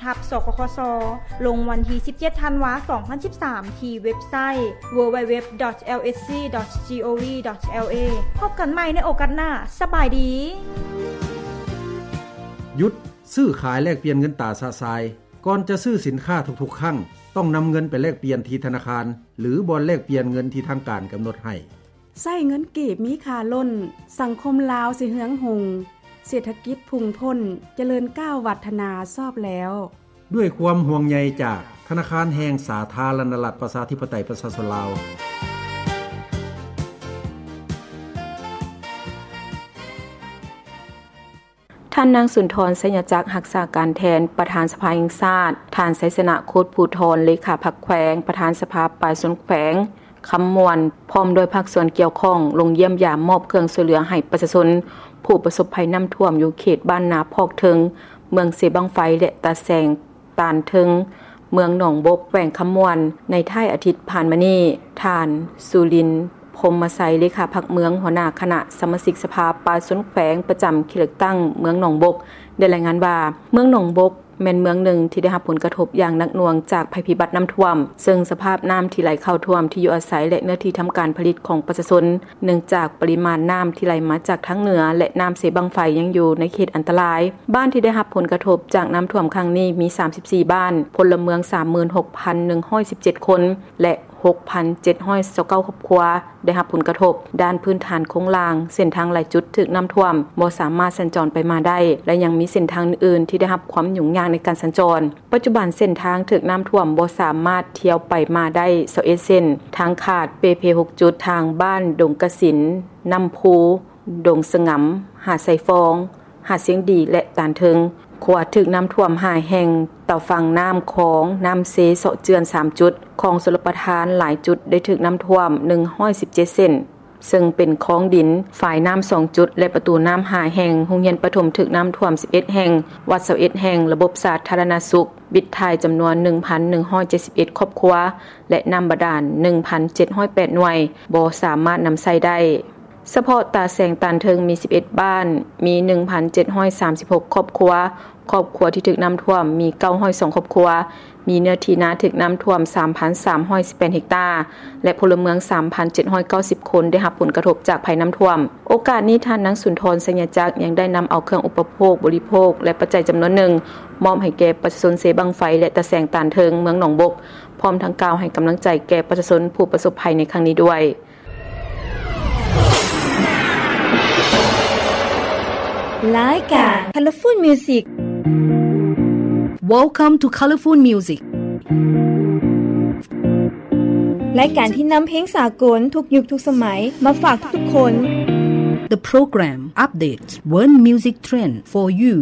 ທັບ ສກຂຊ ລົງວັນທີສິບເຈັດ ທັນວາ ສອງພັນສິບສາມ ທີ່ເວັບໄຊ www.lsc.gov.la. ພົບກັນໃໝ່ໃນໂອກາດໜ້າ. ສະບາຍດີ. ຢຸດຊື້ຂາຍແລກປ່ຽນເງິນຕາຊະຊາຍ. ກ່ອນຈະຊື້ສິນຄ້າທຸກໆຄັ້ງ, ຕ້ອງນຳເງິນໄປແລກປ່ຽນທີ່ທະນາຄານ ຫຼື ບ່ອນແລກປ່ຽນເງິນທີ່ທາງການກຳນົດໃຫ້. ໃຊ້ເງິນກີບມີຄ່າລົ້ນ, ສັງຄົມລາວຊິເຮືອງຮຸ່ງ, ເສດຖະກິດພຸ່ງພົ້ນ, ຈະເລີນກ້າວວັດທະນາຊອບແລ້ວ. ດ້ວຍຄວາມຫ່ວງໃຍຈາກທະນາຄານແຫ່ງສາທາລະນະລັດ ປະຊາທິປະໄຕ ປະຊາຊົນລາວ. ທ່ານນາງ ສຸນທອນ ໄຊຍະຈັກ ຮັກສາການແທນປະທານສະພາແຫ່ງຊາດ, ທ່ານ ໄຊຊະນະ ໂຄດພູທອນ ເລຂາພັກແຂວງ, ປະທານສະພາປະຊາຊົນແຂວງຄຳມ່ວນ ພ້ອມດ້ວຍພາກສ່ວນກ່ຽວຂ້ອງ ລົງຢ້ຽມຢາມມອບເຄື່ອງຊ່ວຍເຫຼືອໃຫ້ປະຊາຊົນຜູ້ປະສົບໄພນ້ຳຖ້ວມຢູ່ເຂດບ້ານນາພອກເທິງ, ເມືອງເຊບັ້ງໄຟ ແລະ ຕາແສງ ຕານເທິງ ເມືອງໜອງບົກ ແຂວງຄຳມ່ວນ ໃນທ້າຍອາທິດຜ່ານມານີ້. ທ່ານ ສຸລິນ ພົມມະໄຊ ເລຂາພັກເມືອງ ຫົວໜ້າຄະນະສະມາຊິກສະພາປະຊາຊົນແຂວງ ປະຈຳເຂດເລືອກຕັ້ງເມືອງໜອງບົກ ໄດ້ລາຍງານວ່າ ເມືອງໜອງບົກແມ່ນເມືອງໜຶ່ງທີ່ໄດ້ຮັບຜົນກະທົບຢ່າງໜັກໜ່ວງຈາກໄພພິບັດນ້ຳຖ້ວມ, ເຊິ່ງສະພາບນ້ຳທີ່ໄຫຼເຂົ້າຖ້ວມທີ່ຢູ່ອາໄສ ແລະ ເນື້ອທີ່ທຳການຜະລິດຂອງປະຊາຊົນ ເນື່ອງຈາກປະລິມານນ້ຳທີ່ໄຫຼມາຈາກທາງເໜືອ ແລະ ນ້ຳເຊບັ້ງໄຟຍັງຢູ່ໃນເຂດອັນຕະລາຍ. ບ້ານທີ່ໄດ້ຮັບຜົນກະທົບຈາກນ້ຳຖ້ວມຄັ້ງນີ້ມີສາມສິບສີ່ບ້ານ, ພົນລະເມືອງສາມໝື່ນຫົກພັນໜຶ່ງຮ້ອຍສິບເຈັດຄົນ ແລະ ຫົກພັນເຈັດຮ້ອຍຊາວເກົ້າຄອບຄົວໄດ້ຮັບຜົນກະທົບ. ດ້ານພື້ນຖານໂຄງລ່າງ, ເສັ້ນທາງຫຼາຍຈຸດຖືກນ້ຳຖ້ວມ, ບໍ່ສາມາດສັນຈອນໄປມາໄດ້ ແລະ ຍັງມີເສັ້ນທາງອື່ນໆທີ່ໄດ້ຮັບຄວາມຫຍຸ້ງຍາກໃນການສັນຈອນ. ປັດຈຸບັນເສັ້ນທາງຖືກນ້ຳຖ້ວມບໍ່ສາມາດທ່ຽວໄປມາໄດ້ຊາວເອັດເສັ້ນ, ທາງຂາດເປ່ເພຫົກຈຸດ, ທາງບ້ານດົງກະສິນ, ນ້ຳພູ, ດົງສະຫງຳ, ຫາດໄຊຟອງ, ຫາດຊຽງດີ ແລະ ຕານເທິງ. ຂົວຖືກນ້ຳຖ້ວມຫ້າແຫ່ງ, ຕາຝັ່ງນ້ຳຂອງນ້ຳເຊເຊາະເຈື່ອນສາມຈຸດ, ຄອງຊົນລະປະທານຫຼາຍຈຸດໄດ້ຖືກນ້ຳຖ້ວມໜຶ່ງຮ້ອຍສິບເຈັດເສັ້ນ. ເຊິ່ງເປັນຄອງດິນ, ຝາຍນ້ຳສອງຈຸດ ແລະ ປະຕູນ້ຳຫ້າແຫ່ງ, ໂຮງຮຽນປະຖົມຖືກນ້ຳຖ້ວມສິບເອັດແຫ່ງ, ວັດຊາວເອັດແຫ່ງ, ລະບົບສາທາລະນະສຸກ, ວິດຖ່າຍຈຳນວນໜຶ່ງພັນໜຶ່ງຮ້ອຍເຈັດສິບເອັດຄອບຄົວ ແລະ ນ້ຳບາດານໜຶ່ງພັນເຈັດຮ້ອຍແປດໜ່ວຍ ບໍ່ສາມາດນຳໃຊ້ໄດ້. ສະເພາະຕາແສງຕານເທິງມີສິບເອັດບ້ານ, ມີໜຶ່ງພັນເຈັດຮ້ອຍສາມສິບຫົກຄອບຄົວ, ຄອບຄົວທີ່ຖືກນ້ຳຖ້ວມມີເກົ້າຮ້ອຍສອງຄອບຄົວ, ມີເນື້ອທີ່ນາຖືກນ້ຳຖ້ວມສາມພັນສາມຮ້ອຍສິບແປດເຮັກຕາ ແລະ ພົນລະເມືອງສາມພັນເຈັດຮ້ອຍເກົ້າສິບຄົນໄດ້ຮັບຜົນກະທົບຈາກໄພນ້ຳຖ້ວມ. ໂອກາດນີ້ ທ່ານນາງ ສຸນທອນ ໄຊຍະຈັກ ຍັງໄດ້ນຳເອົາເຄື່ອງອຸປະໂພກບໍລິໂພກ ແລະ ປັດໄຈຈຳນວນໜຶ່ງ ມອບໃຫ້ແກ່ປະຊາຊົນເຊບັ້ງໄຟ ແລະ ຕາແສງຕານເທິງ ເມືອງໜອງບົກ, ພ້ອມທັງກ່າວໃຫ້ກຳລັງໃຈແກ່ປະຊາຊົນຜູ້ປະສົບໄພໃນຄັ້ງນີ້ດ້ວຍ. ລາຍການ Colorful Music. Welcome to Colorful Music. ລາຍການທີ່ນຳເພງສາກົນທຸກຍຸກທຸກສະໄໝມາຝາກທຸກໆຄົນ. The program updates world music trend for you.